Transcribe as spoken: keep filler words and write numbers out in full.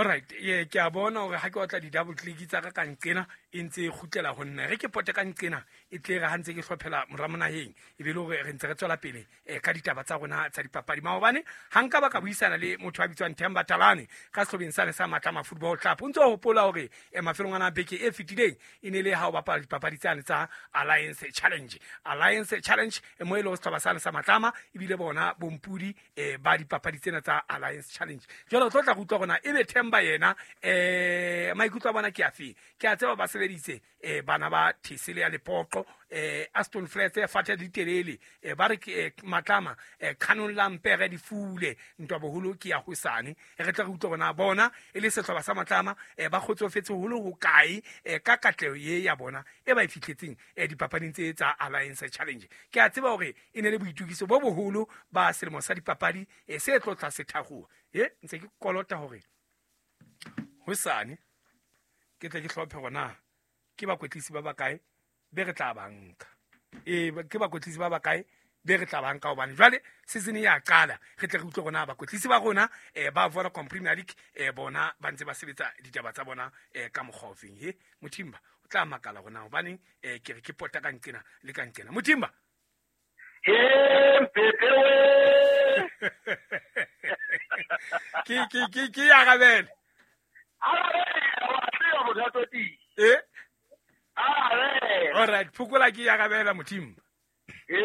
Alright, ye ke a bona hore ha ke otla di-double click tsa ka ka nqena e ntse e kgutlela ho nna. Re ke pote ka nqena e tle re ha ntse ke hlophela mora monaheng e be le hore re ntse re tswela pele eh, ka ditaba tsa rona tsa dipapadi. Maobane ha nka ba ka buisana le motho a bitswang Themba Talane ka sehlobeng sane sa Matlama Football Club. O ntso hopola hore eh, mafelong ana a beke e fetileng e ne le ha o bapala dipapadi tsane tsa Alliance Challenge. Alliance Challenge eh, mo e le ho sehlopha sane sa Matlama ebile bona bompudi eh, ba dipapadi tsena tsa Alliance Challenge. Jwale o tlo tla re utlwa hore na ebe Themba yena eh maikutlo a bona ke afe. Ke a tseba ba sebeditse eh, bana ba Thesele ya Lepoqo, eh, Aston Flats e fathe ditelele, eh, ba re ke eh, Matlama eh, Canon Lampere di fule ntwa boholo ke ya hosane. Eh, re tla re utlwa hore na bona e le sehlopha sa Matlama eh, ba kgotsofetse holo ho kae eh, ka katleho ye ya bona e ba e fihletseng eh, dipapading tse tsa Alliance Challenge. Ke a tseba hore e ne le boitokiso bo boholo ba selemo sa dipapadi eh, se tlo tla se thakgoha. E ntse ke kolota hore hosane ke tle ke hlophe hore na ke bakwetlisi ba bakae be re tla ba nka. E ke bakwetlisi ba bakae be re tla ba nka hobane jwale season ya qala, re tle re utlwe hore na bakwetlisi ba rona eh, ba Vodacom Premier League eh, bona ba ntse ba sebetsa ditaba tsa bona eh, ka mokgwa ofeng. He Mothimba o tla makala hore na hobaneng eh, ke re ke pota ka nqena le ka nqena. Mothimba. He Mpepe we. Ke ke ke ke arabele. Arabela wa tseba motho a tsotile. Eh? Arabela. All right, phokola ke arabela Mothimba. Eh.